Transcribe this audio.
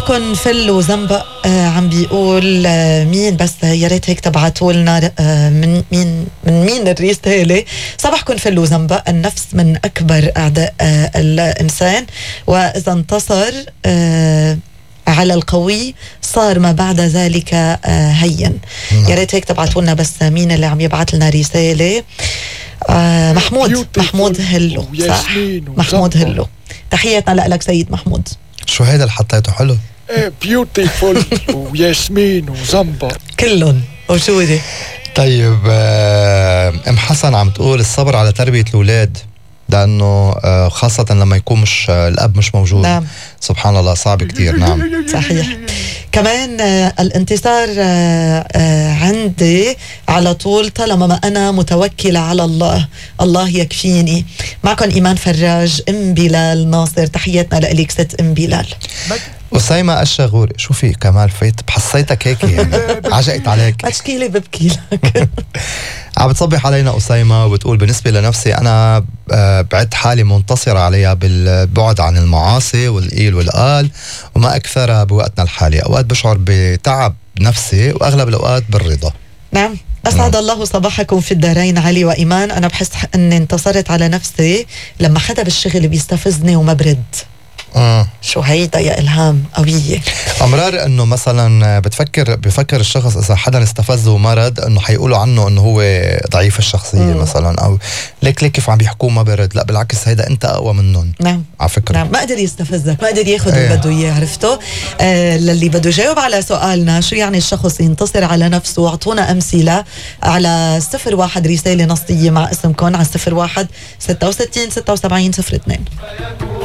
صباحكن فل وزنبق. عم بيقول مين بس يا ريت هيك تبعتوا لنا من مين الرسالة. صباحكن فل وزنبق. النفس من أكبر أعداء الإنسان، وإذا انتصر على القوي صار ما بعد ذلك هين. يا ريت هيك تبعتوا لنا بس مين اللي عم يبعت لنا رسالة. محمود هلو. صح، محمود هلو. تحياتنا لك سيد محمود. شو هيدا اللي حطيته حلو؟ بيوتيفول وياسمين وزنبق كلهم. وشو دي؟ طيب ام حسن عم تقول الصبر على تربية الأولاد، لأنه خاصة لما يكون مش الأب مش موجود. نعم. سبحان الله صعب كتير. نعم صحيح. كمان الانتصار عندي على طول طالما ما أنا متوكلة على الله يكفيني. معكم إيمان فراج. ام بلال ناصر. تحياتنا لإليك ست ام بلال. أسيمة الشغوري. شو في كمال فايت بحسيتك هيك يعني عجقت عليك. أشكيلي ببكي لك. عم بتصبح علينا أسيمة وبتقول بالنسبة لنفسي أنا بعد حالي منتصرة عليها بالبعد عن المعاصي والقيل والقال وما أكثرها بوقتنا الحالي. أوقات بشعر بتعب نفسي وأغلب الأوقات بالرضا. نعم. أسعد الله صباحكم في الدارين علي وإيمان. أنا بحس أني انتصرت على نفسي لما حدا بالشغل بيستفزني وما برد. شو هيدا يا إلهام قوية. أمرار أنه مثلا بفكر الشخص إذا حدا استفزه ومرض أنه حيقولوا عنه أنه هو ضعيف الشخصية مثلا، أو ليك كيف عم بيحكوه ما برد. لا بالعكس هيدا أنت أقوى منهم. نعم على فكرة. نعم. ما قدر يستفزك، ما قدر ياخد اللي بده إياه. عرفتوا؟ للي بده يجاوب على سؤالنا شو يعني الشخص ينتصر على نفسه، أعطونا أمثلة على 01 رسالة نصية مع اسمكم على 01 66 76 02.